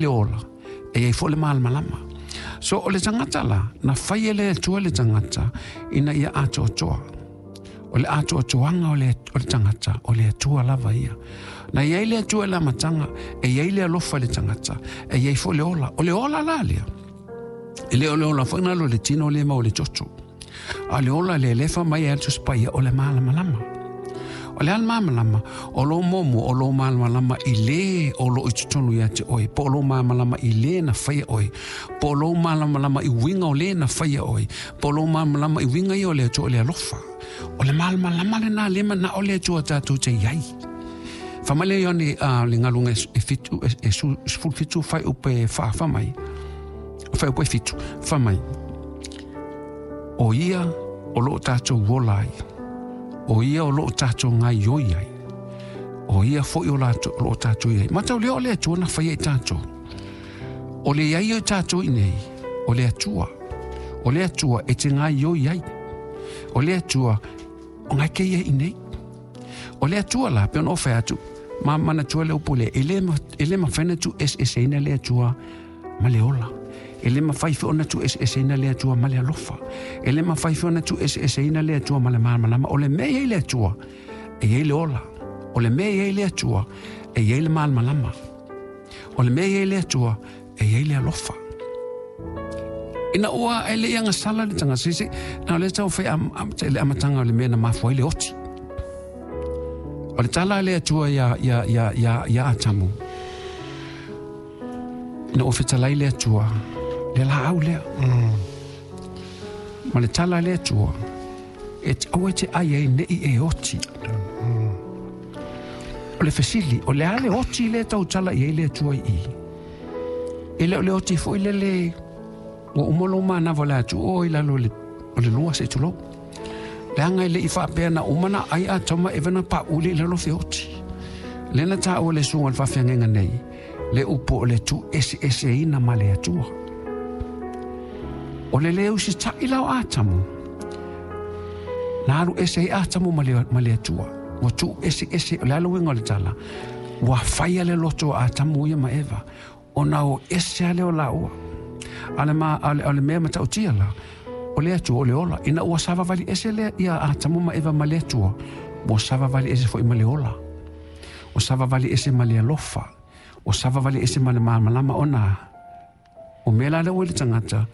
Le ola, e iai foi le malamalama. So o le tagata la, na fai e le Atua le tagata ina ia atoatoa. O le atoatoaga o le, o le tagata, o le Atua lava ia. Na iai le Atua i le amataga, e iai le alofa i le tagata, e iai foi le ola. O le ola la lea, e le o le ola foi na alu i le tino lea e maua i le toto. A o le ola lea, lea e fai mai ai le Tusi Paia, o le malamalama. O le a le malamalama? O lou muamua, o lou malamalama i lē o lo o i totonu ia te oe, po o lou malamalama i lē na faia oe, po o lou malamalama i uiga o lē na faia oe, po o lou malamalama i uiga ia o le Atua o le alofa. O le malamalama lenā lea e manao le Atua tatou te i ai. Fai mai le Ioane a le galuega e 7, e 17 fuaiupu e 4, fai mai, fuaiupu e 7, fai mai, O ia o lo o tatou ola ai, o ia o lo o tatou gaioi ai, o ia foi o lo o tatou i ai. Mataulia o le Atua na faia i tatou. O le iai o tatou i nei, o le Atua. O le Atua e te gaioi ai. O le Atua o ngai ke ia i nei. O le Atua la, pe ona o fai atu, ma manatua le upu lea, e le mafai ona tuueseeseina le Atua ma le ola. E le mafai foi ona tuueseeseina le Atua ma le alofa. E le mafai foi ona tuueseeseina le Atua ma le malamalama. O le mea e i ai le Atua, e i ai le ola. O le mea e i ai le Atua, e i ai le malamalama. O le mea e i ai le Atua, e i ai le alofa. Ina ua e le i agasala le tagata, se, se, na o lea tau fai am, am, le amataga o le mea na mafua ai le oti. O le tala a le Atua ia, ia, ia, ia, ia Atamu, Ina ua fetalai le Atua, le laau lea. Ma le tala a le Atua, e aua e te ai ai nei e oti. O le fesili, o le a le oti lea e tautala i ai le Atua i i? E le o le oti foi lele ua uma lou manava o le a tuu oe i lalo o le lua se i tulou. Leaga e le i faapea na uma na ai Atama Eva na pauli i lalo feoti. Lea na taua le susuga o le faafeagaiga nei, le upu o le tuueseeseina ma le Atua. O le le usitaʻi la o Atamu, na alu ese ai Atamu ma le, ma le Atua. Ua tuueseese, o le a le uiga o le tala? Ua faia le loto o Atamu ia ma Eva, ona o ese a lea o laua. A le, ma, a le, a le mea matautia la, o le Atua o le ola. Ina ua savavali ese lea ia Atamu ma Eva ma le Atua, ua savavali ese foi ma le ola. Ua savavali ese ma le alofa. Ua savavali ese ma le malamalama ona o mea la lea ua i le tagata,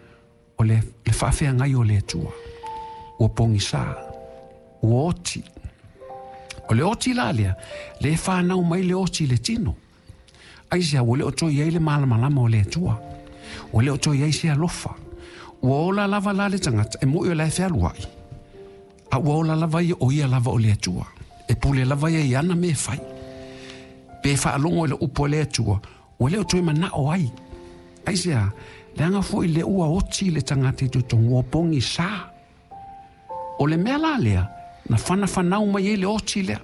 o le, le faafeagai o le Atua. Ua pogisa, ua oti. O le oti la lea, le whanau mai le oti i le tino. Aisea, ua le o toe i ai le malamalama o le Atua. Ua le o toe i ai se alofa. Ua ola lava la le tagata, e moʻi o la e fealuai. A ua ola lava ia, o ia lava o le Atua. E pule lava ia i ana mea e fai. Pe faalogo i le upu a le Atua, ua le o toe manao ai. Aisea, leaga foi le ua oti le tagata i totonu, ua pogisa. O le mea la lea, na whanafanau mai ai le oti lea.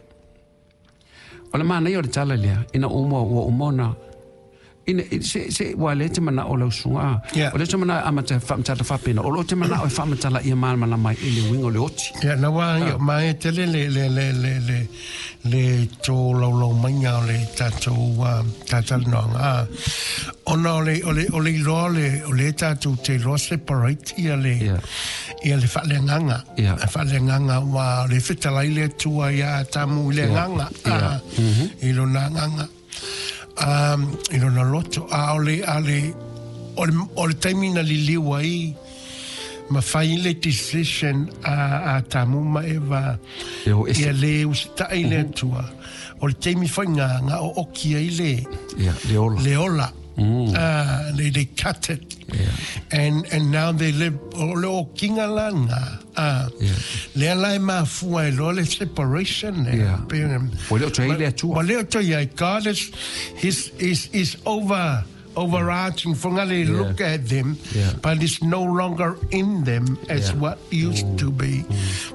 O le manaia o le tala lea, ina uma, ua uma ona ina, se, se, ua le te manao o lau susuga, Yeah. o le te manao e amata whaamatala whapena, o lo te manao e whaamatala ia malamalama ai i le uiga o le oti. Ia, na wā, ia, ma e tele le, le, le, le, le, le tō laulau mainga o le tātou tātalanoanga. Ā, ona o le, o le, o le iloa o le, o le tātou te iloa separate ia le, Yeah. ia le faaleagaga. Yeah. Le faaleagaga ua o le fetalai le Atua ia Atamu i le Yeah. agaga, Yeah. ā, i lona agaga. Ā, i lona loto. A o le, a le, o le, o le taimi na liliu ai, ma fai le decision a Atamu ma Eva, E o ese. ia le usitai le Atua. O le taimi foi nga, nga ooki ai le, Yeah, le ola. le ola. They cut it. Yeah. And now they live, o le okinga la nga. Yeah. Lea la e mafua e loa le separation lea. Yeah. Pe, Ua le o toe i le Atua. Ua le o toe ai. God is, his, is, is over, overarching. For ngale Yeah. look at them, Yeah. but it's no longer in them as Yeah. what used to be.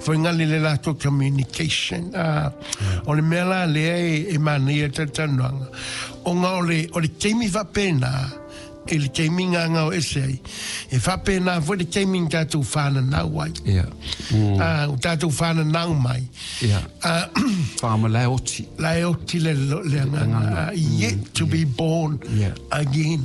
For ngale le latou communication. O le mea la lea e, e manaia talatalanoaga. Ona o le, o le taimi faapena, i le taimi ngangao ese ai, e faapena foi le taimi na tatou whananau ai. Yeah. O tatou whananau mai. Yeah. Whakamalae oti. La e oti le, le agaga, yet to be born Yeah. again.